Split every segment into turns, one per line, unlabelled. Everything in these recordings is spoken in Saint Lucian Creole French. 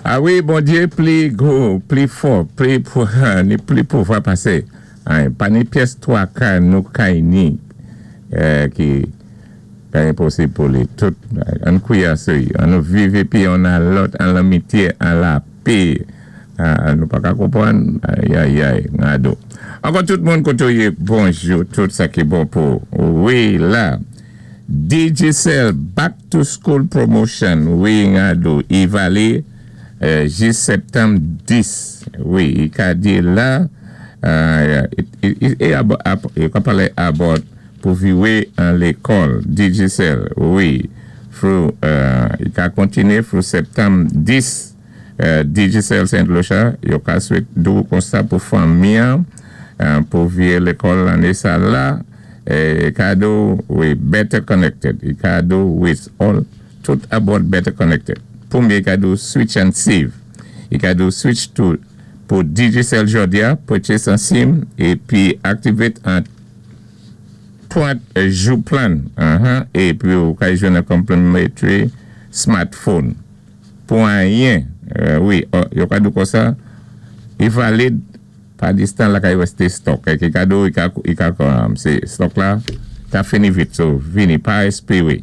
A wi, Bondyé pli gwo, pli fò, pli ni pli pouvwa pasé anyen. Pa ni pyès twaka nou kay ni ki ka enposib pou li. Tout, ann kwiyé asou i. An nou viv épi youn a lòt an lanmityé, an lapé. Nou pa ka konpwann? Ayayay, gado. Ankò tout moun koté ou yé, bonjou, tout sa ki bon pou ou. Wi la. Digicel Back to School Promotion wi ngado i vale jis septanm 10 wi i ka di la yo ka pale about pou viwe an lekòl Digicel wi fru i ka kontinye fru septanm 10 Digicel Saint Lucia yo ka swet di w konsa pou fanmi an pou viye lekòl ane sa la kado wi better connected i kado with all tout about better connected premye kado switch and save i kado switch to pou Digicel jòdi a purchase an sim epi activate an 30 jou plan epi ou ka jwenn an complimentary smartphone. Pou anyen wi yo ka di w konsa i valid pa distan lakay yo este stock ki ka di w i ka se stock la ka fini vit so vini pa espere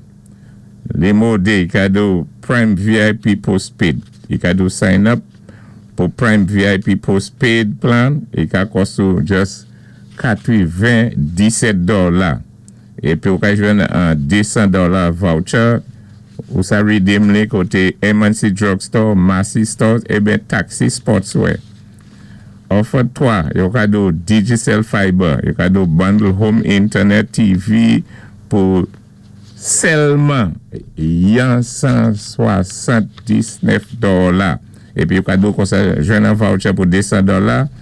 li mode i ka di w prime vip postpaid i ka di w sign up pou prime vip postpaid plan i ka cost ou just 97 dola. Epi ou ka jwenn an 200 dola voucher ou sa redeem li koté M&C Drugstore, Massy Stores eben Taxi Sportswear. Offer 3, yo ka di w Digicel Fiber, yo ka di w bundle home internet, TV pou sèlman yon 179 dola. Epi yo ka di w konsa jwenn an voucher pou 200 dola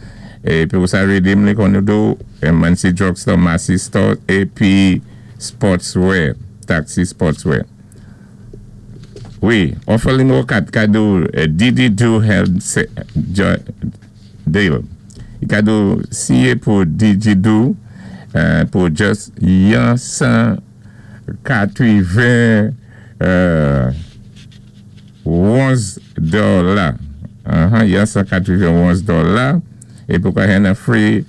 epi ou sa redeem li kon nou di w M&C Drugstore, Massy Store epi Sportswear, Taxi Sportswear. Wi, offer nimewo 4 ka di w DigiDo Health Deal. I ka di w siye pou DigiDo pou just yon 180 11 dola. Yon 191 dola. Epi ou ka jwenn an free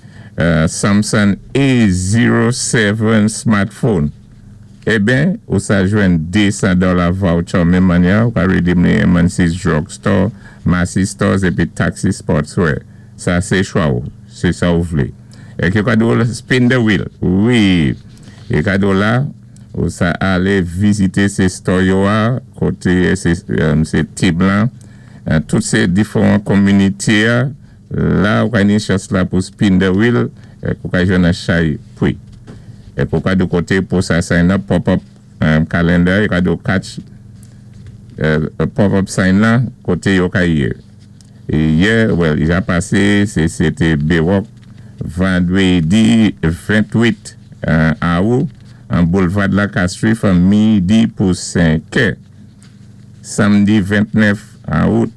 Samsung A07 smartphone. Eben, ou sa jwenn 200 dola voucher menm manyè, ou ka redeem li M&C Drugstore, Massy Stores epi Taxi Sportswear. Sa sé chwa ou, sé sa ou vlé. Èk yo ka di w spin the wheel. Wi, yo ka di w la, ou sa alé vizité sé store yo a, koté sé, sé team lan, tout sé diferan community a, la ou ka ni chans la pou spin the wheel, èk ou ka jwenn an chay pri. Èk ou ka di koté pou sa sign up pop up calendar, yo ka di w catch pop up sign lan koté yo ka yé. Yè, well, ja pasé, sé sé té Berok vandwédi 28 awou an Boulevard la Castries from midi pou 5 è. Samdi 29 awout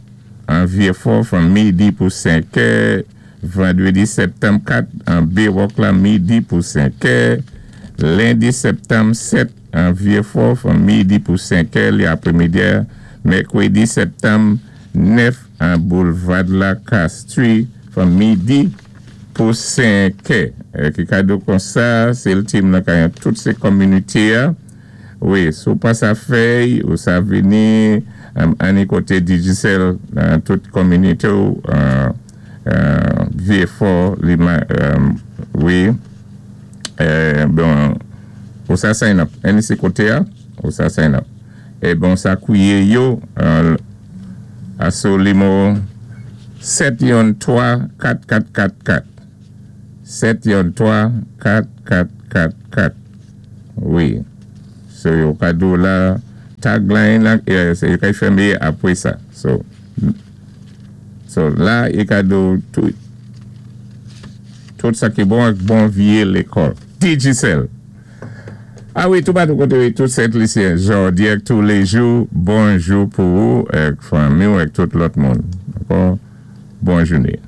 an Vieux-Fort from midi pou 5 è. Vandwédi septanm 4 an Berok la midi pou 5 è. Lendi septanm 7 an Vieux-Fort from midi pou 5 è li apwémidi. Mèkwédi septanm 9 an Boulevard la Castries from midi pou 5 è. Ki kado konsa, sé l team nan kay an tout sé community a. Wi, si w pa sa fèy, ou sa vini ani koté Digicel nan tout community ou Vieux-Fort li wi bon ou sa sign up any sé koté a ou sa sign up e bon sa kwiye yo asou limo 7 yon 3 4 4 4 4 7 yon 3 4 4 4 4 wi so yo ka di w la tagline la yo ka fèmé apwé sa so so la yo ka di w tout tout sa ki bon ak bon vye lekòl Digicel a wi toupatou koté wi tout Sent Lisyen jòdi ak toulejou bonjou pou ou ak fanmi w ak tout lòt moun ankò bon jouné.